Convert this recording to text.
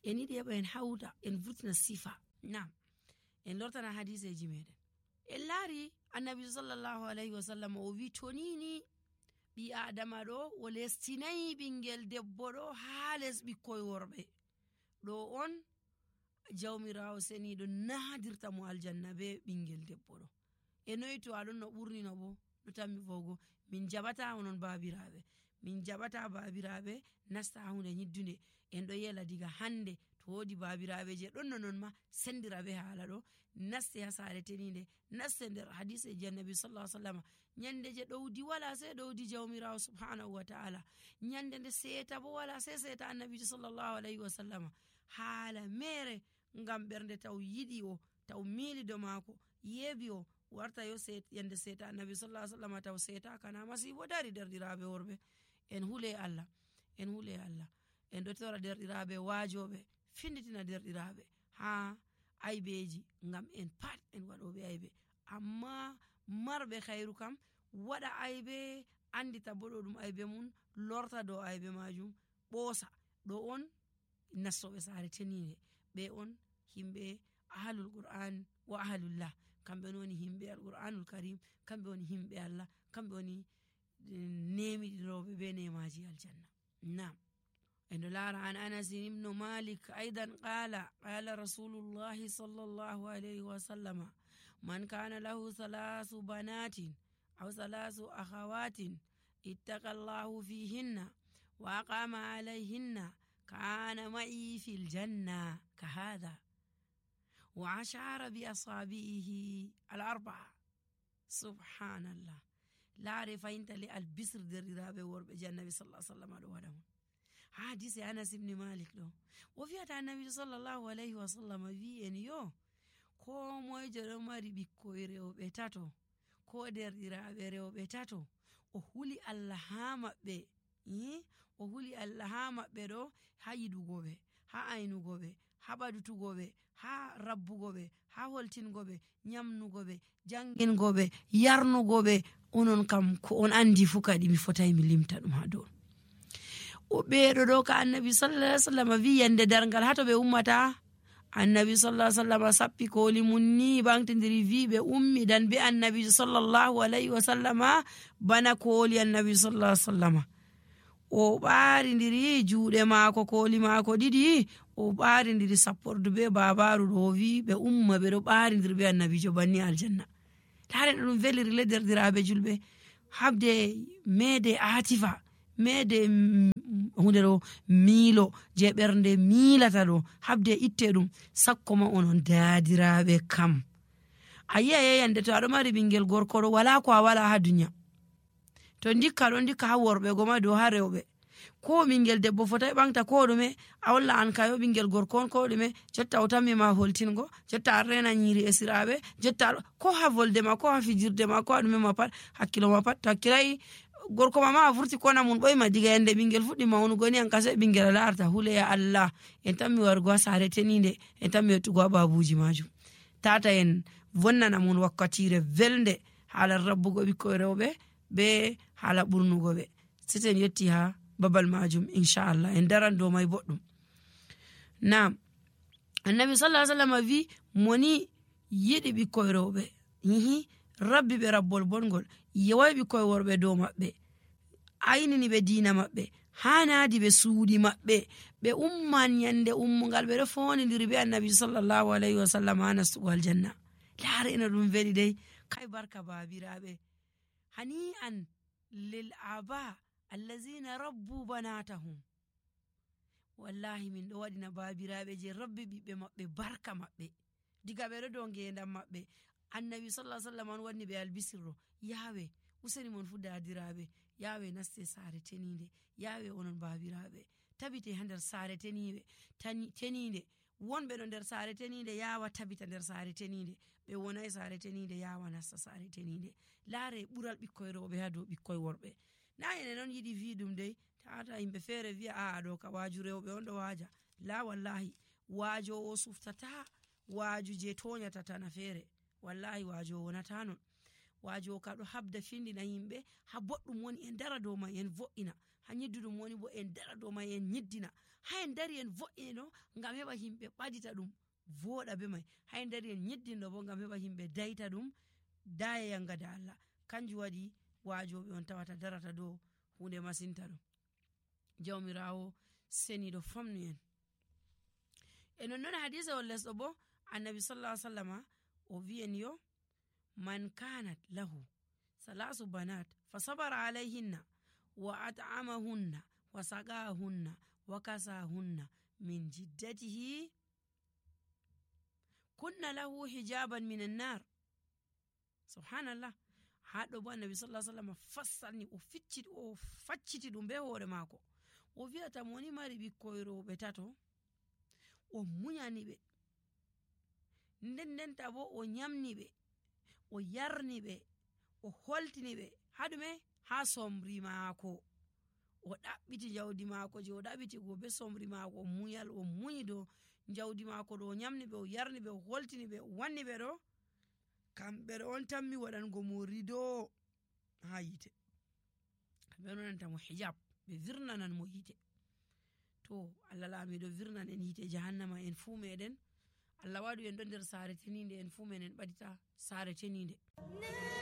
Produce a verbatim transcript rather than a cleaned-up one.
En yiɗi heɓa en hawta, en vurtina sifa. Naam. En lortana hadiseeji meɗen. En laari Annabi sallallahu alayhi wa sallam o wi, "Tonini ɓii Aadama ɗo, o lestinayi ɓinngel debbo ɗo haa les ɓikkoy worɓe. Ɗo on Jawmiraawo seniiɗo nahadirta mo aljanna be ɓinngel debbo ɗo." E noy to aɗon no ɓurnino bo, no tammi vowgo, "Min jaɓata onon baabiraaɓe. Min jaɓata baabiraaɓe nasta haa huunde nyiddunde. En ɗo yela diga hannde, to woodi baabiraaɓe je ɗon no non ma, sendira be haala ɗo, naste haa saare teniinde, naste nder hadiseeji Annabi sallallahu alaihi wasallam. Nyande je ɗowdi wala sai ɗowdi Jawmiraawo subhanahu wa ta'ala. Nyande nde seeta bo wala sai seeta Annabi sallallahu alaihi wasallam. Haala mere ngam ɓernde taw yiɗi o, taw miili do maako, yeebi o, warta yo seet-, yande seeta Annabi sallallahu alaihi wasallam taw seeta kana masiibo dari." Derɗiraaɓe worɓe, en hule Allah, en hule Allah. En ɗo tora derɗiraaɓe waajooɓe, finditina derɗiraaɓe haa aybeeji, ngam en pat en waɗooɓe aybe. Amma marɓe khayru kam, waɗa aybe, andita bo ɗo ɗum aybe mum, lorta dow aybe maajum, ɓoosa. Ɗo on nastooɓe saare teniinde. Ɓe on himɓe ahlul Qur'an wa ahlullah. Kamɓe woni himɓe Al-Qur'anul Karim, kamɓe woni himɓe Allah, kamɓe woni, eh, nemiɗinooɓe be nemaaji aljanna. Naam. En ɗo laara an Anas ibn Malik aydan qala, qala Rasulullahi sallallahu alayhi wa sallama, "Man kana lahu thalathu banatin aw thalathu akhawatin ittaqa Allahu fihinna wa aqama alayhinna kana ma'i fil janna ka hadha." Wa ashara bi asabi'ihi al-arba'a. Subhanallah. Laare fayinta le albisir derɗiraaɓe worɓe je Annabi sallallahu alaihi wasallam ɗo waɗa mon. Hadise Anas ibn Malik ɗo. O fiyata Annabi sallallahu alaihi wasallam wi en yo, ko moyjo ɗo mari ɓikkoy rewɓe tato, ko derɗiraaɓe rewɓe tato, o huli Allah haa maɓɓe. Ih, o huli Allah haa maɓɓe ɗo, haa yiɗugo ɓe, haa aynugo ɓe, haa ɓadutugo ɓe, haa rabbugo ɓe, haa holtingo ɓe, nyamnugo ɓe, jangingo ɓe, yarnugo ɓe. Onon kam ko on andi fu kadi mi fotai mi limta ɗum haa dow. O ɓeeɗo ɗo ka Annabi sallallahu alaihi wasallam wi yande darngal haa to ɓe ummata. Annabi sallallahu alaihi wasallam sappi kooli mum ni ɓantindiri wi ɓe ummidan be Annabi sallallahu alaihi wasallam bana kooli Annabi sallallahu alaihi wasallam. O ɓaarindiri juuɗe maako, kooli maako ɗiɗi, o ɓaarindiri sappordu be baabaaru ɗo, o wi ɓe umma ɓe ɗo ɓaarindiri be Annabiijo banni aljanna. Laare no ɗum veliri le derɗiraaɓe julɓe. Habde meede aatifa, meede, mm, hunde ɗo miilo je ɓernde miilata ɗo, habde itte ɗum, sakko ma onon daadiraaɓe kam. A yi'a yeyande to aɗo mari ɓingel gorko ɗo, wala ko a wala haa duniya. To ndikka ɗo, ndikka haa worɓe goma dow haa rewɓe. Ko ɓingel debbo fotai ɓaŋgta ko ɗume, a holla an kayo ɓingel gorko on ko ɗume, jotta o tammi ma holtingo, jotta a rena nyiri esiraaɓe, jotta a-, ko haa volde ma, ko haa fijirde ma, ko haa ɗume ma pat, hakkilo ma pat, to hakkilai gorko ma ma a vurti kona mun ɓoyma diga yande ɓingel fuɗɗi maunugo ni an ka sai ɓingel a larata, hule ya Allah, en tammi wargo haa saare teninde, en tammi yottugo haa babuji majum. Tata en vonnana mun wakkatire velnde, haala rabbugo ɓikkoy rewɓe, be haala ɓurnugo ɓe. Seten yetti haa babal majum, inchallah. En daran dow mai boɗɗum. Naam. Annabi sallallahu alaihi wasallam vi, moni yiɗi ɓikkoy rewɓe. Hihi, rabbi ɓe rabbol bongol. Yeway ɓikkoy worɓe dow maɓɓe. Aynini ɓe diina maɓɓe. Haanadi ɓe suuɗi maɓɓe. Ɓe umman yande ummungal ɓe ɗo fondindiri be Annabi sallallahu alaihi wasallam haa nastugo aljanna. Laare ina ɗum veli dai. Kai barka baabiraaɓe. Hani'an lil aba allazina rabbu banatahum. Wallahi, min ɗo waɗina baabiraaɓe je rabbi ɓiɓɓe maɓɓe barka maɓɓe. Diga ɓe ɗo dow ngeendam maɓɓe. Annabi sallallahu alaihi wasallam on waɗni ɓe albisirro. Yaawe, useni mon fu daadiraaɓe. Yaawe, naste saare teniinde. Yaawe, onon baabiraaɓe. Tabite haa nder saare teniinde. Tani-, teniinde. Wonɓe ɗo nder saare teniinde yaawa tabita nder saare teniinde. Ɓe wonai saare teniinde yaawa nasta saare teniinde. Laare ɓural ɓikkoy rewɓe haa dow ɓikkoy worɓe. Na enen on yiɗi vi ɗum dai. Tata yimɓe feere vi'a, "A'a, ɗo ka waaju rewɓe on ɗo waaja." La, wallahi, waajoowo suftata waaju je toonyata tana feere. Wallahi, waajoowo wonata non. Waajoowo ka ɗo habda findina yimɓe, haa boɗɗum woni en dara dow mai, en vo'ina. A ñiddu ɗum woni bo en dara dow may, en ñiddina. Hay en dari en vo'ina ɗo ngam heɓa yimɓe ɓadita ɗum, vooɗa be may. Hay en dari en ñiddin ɗo bo ngam heɓa yimɓe dayta ɗum, daya yanga da Allah. Kanjum waɗi waajooɓe on tawata darata dow huunde masinta ɗo. Jawmiraawo seniiɗo famnu en. E non non hadiisa on lesɗo bo, Annabi sallallahu alaihi wasallama o wi'en yo, "Man kanat lahu salasu banat fa sabara alayhinna wa at'amahunna wa saqahunna wa kasahunna min jiddatihi kunna lahu hijaban minan nar." Subhanallah. Haa ɗo bo Annabi sallallahu alaihi wasallam fassani, o ficciti, o facciti ɗum be hoore maako. O wi'ata mo ni mari ɓikkoy rewɓe tato, o muñani ɓe. Nden ndenta bo o ñamni ɓe, o yarni ɓe, o holtini ɓe. Haa ɗume? Haa somri maako. O ɗaɓɓiti jawdi maako je o ɗaɓɓiti go be somri maako, o muñal, o muñi dow jawdi maako ɗo, o ñamni ɓe, o yarni ɓe, o holtini ɓe, o wanni ɓe ɗo. Kamɓe ɗo on tammi waɗango mo rido haa yiite. Kamɓe on waɗanta mo hijab, ɓe virnanan mo yiite. To, Allah laamiiɗo virnan en yiite jahannama en fuu meɗen. Allah waɗu en ɗo nder saare teniinde, en fuu meɗen ɓadita saare teniinde.